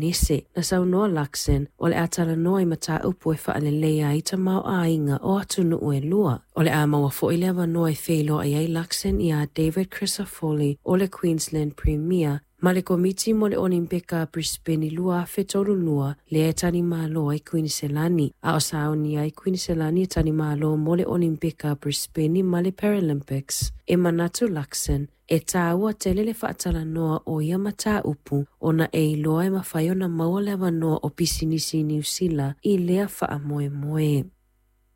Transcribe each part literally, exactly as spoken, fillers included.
Nese, na saunoa Luxon, o le a talanoa i mataupu e faaleleia ai tamaoaiga o atunuu e lua. O le a maua foi le avanoa e feiloai ai Luxon ia David Crisafulli o le Queensland Premier ma le komiti mo le Olimpika Brisbane lua afe tolu lua lea e talimalo ai Kuiniselani. A o sauni ai Kuiniselani e talimalo mo le Olimpika Brisbane ma le Paralympics. E manatu Luxon, e tāua tele le faatalanoa o ia mataupu ona e iloa e mafai ona maua le avanoa o pisinisi i Niu Sila i lea faamoemoe.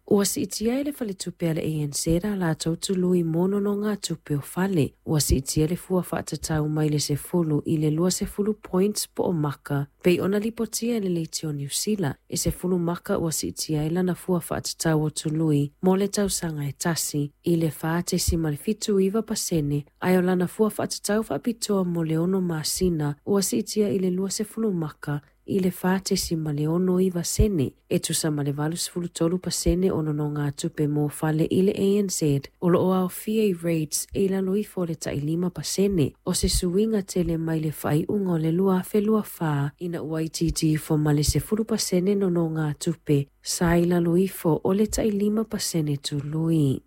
Ua siitia e le faletupe a le A N Z a latou tului mo nonogatupe o fale. Ua siitia le fua faatatau mai le sefulu i le lua sefulu points po o maka, pei ona lipotia e le leitio o Niu Sila. E sefulu maka ua siitia ai lana fua faatatau o tului mo le tausaga e tasi i le fa tesima le fitu iwa pasene, ae o lana fua faatatau faapitoa mo le ono masina ua siitia i le lua sefulu maka i le fa tesima le ono iwa sene, e tusa ma le valu sefulu tolu pasene o nonogatupe mo fale i le A N Z, o loo aofia i rates e i lalo ifo o le tailima pasene, o se suiga tele mai le faaiuga o le lua afe lua fa, ina ua itiiti ifo ma le sefulu pasene nonogatupe, sa i lalo ifo o le tailima pasene tului.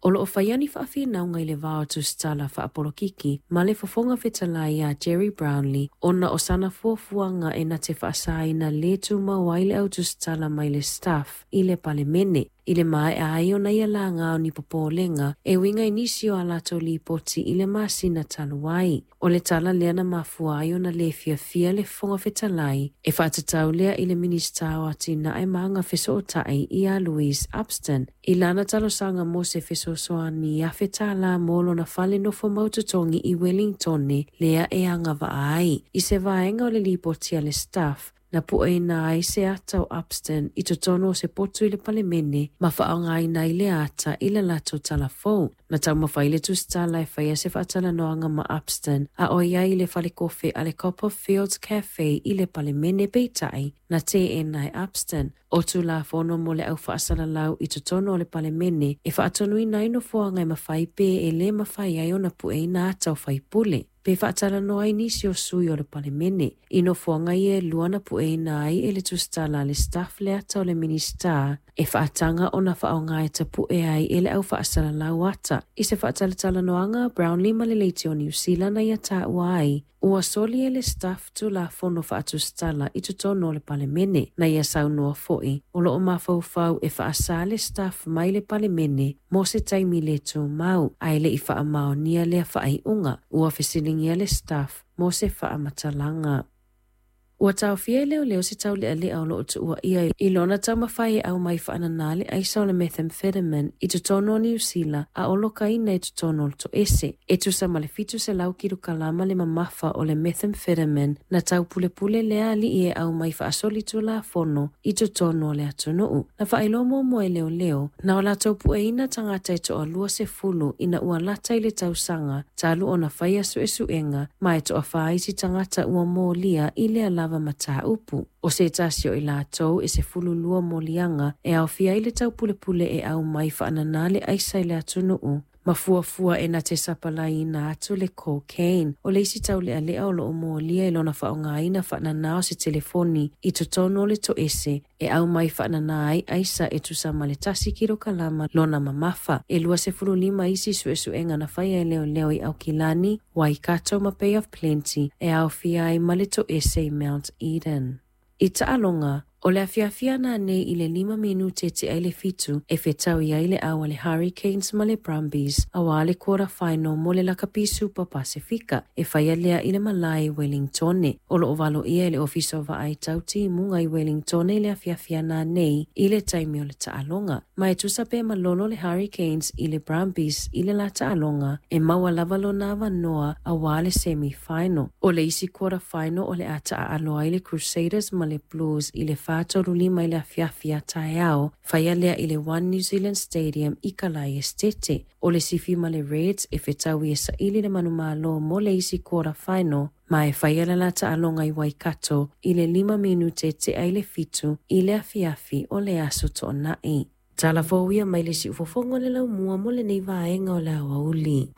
O loo whaiani whaawhinauga i le vao tusitala whaapolokiki, ma le fofonga fetalai a Gerry Brownlee, ona o sana fuafuaga e na te faasaina le tumau ai le au tusitala mai le staff i le palemene. I le maea ai ona ia laga o ni popolenga, e uiga i nisi o a latou lipoti i le masina talu ai. O le tala lea na mafua ai ona le fiafia le fofoga fetalai, e faatatau lea i le Minisita o Atinae ma Agafesootai ia Louise Upston, i lana talosaga mo se fesoasoani afe tālā mo lona fale nofo mautotogi i Wellingtone lea e agavaa ai. I se vaega o le lipoti a le staff, na pueina ai se ata o Upston i totonu o se potu i le palemene ma faaaogaina i le ata i le latou talafou. Na taumafai le tusitala e faia se faatalanoaga ma Upston a o iai i le falekofe a le Copperfields Cafe i le palemene peitai na teena e Upston. O tulafono mo le au faasalalau i totonu o le palemene e faatonuina ai nofoaga e mafai pe e le mafai ai ona pueina ata o faipule. Pe faatalanoa ai nisi o sui o le palemene. I nofoaga ia e lua na pueina ai e le tusitala a le staff le ata o le Minisita e faataga ona faaaoga e tapue ai e le au faasalalau ata. I se faatalatalanoaga a Brownlee ma le leitio o Niu Sila na ia taua ai, ua soli e le staff tulafono faatusitala i totonu o le palemene. Na ia saunoa foi, o loo mafaufau e faasa le staff mai le palemene mo se taimi le tumau, ae le i faamaonia lea faaiuga. Ua fesiligia le staff mo se faamatalaga. Ua taofia e leoleo se taulealea o loo tuua ia i lona taumafai e aumai faanana le aisa o le methamphetamine i totonu o Niu Sila a o lokaina i totonu o le toese. E tusa ma le fitu selau kilokalama le mamafa o le methamphetamine na taupulepule lea alii e aumai faasoli tulafono i totonu o le atunuu. Na faailoa muamua e leoleo na o latou pueina tagata e toalua sefulu ina ua lata i le tausaga talu ona faia suesuega ma e toafā isi tagata ua molia i lea lava mataupu. O se tasi o i latou e sefulu lua moliaga e aofia ai le taupulepule e aumai faanana le aisa i le atunuu. Ma fuafua e na te sapalaiina atu le cocaine. O le isi taulealea o loo molia i lona faaaogaina faanana o se telefoni i totonu o le toese e aumai faanana ai aisa e tusa ma le tasi kilokalama lona mamafa. E lua sefulu lima isi suesuega na faia e leoleo i Aukilani, Waikato ma Bay of Plenty e aofia ai ma le toese i Mount Eden. I taaloga, o le afiafi nanei i le lima minute tea i le fitu e fetaui ai le au a le Hurricanes ma le Brumbies auā le quarter final mo le Lakapi Super Pasifika e faia lea i le malae i Wellingtone. O loo valoia e le ofisa o vaai tau timuga i Wellingtone i le afiafi nanei i le taimi o le taaloga. Ma e tusa pe malolo le Hurricanes i le Brumbies i le la taaloga e maua lava lona avanoa auā le semi-final. O le isi quarter final o le a taaalo ai le Crusaders ma le Blues i le fa tolu lima i le afiafi a taeao, faia lea i le One New Zealand Stadium i Kalai Estete. O le sifi ma le Reds e fetaui e saili le manumalo mo le isi quarter final, ma e faia le la taaloga i Waikato i le lima minute tea i le fitu i le afiafi o le aso toonai. Tala fou ia mai le siufofoga o le laumua mo lenei vaega o le aoauli.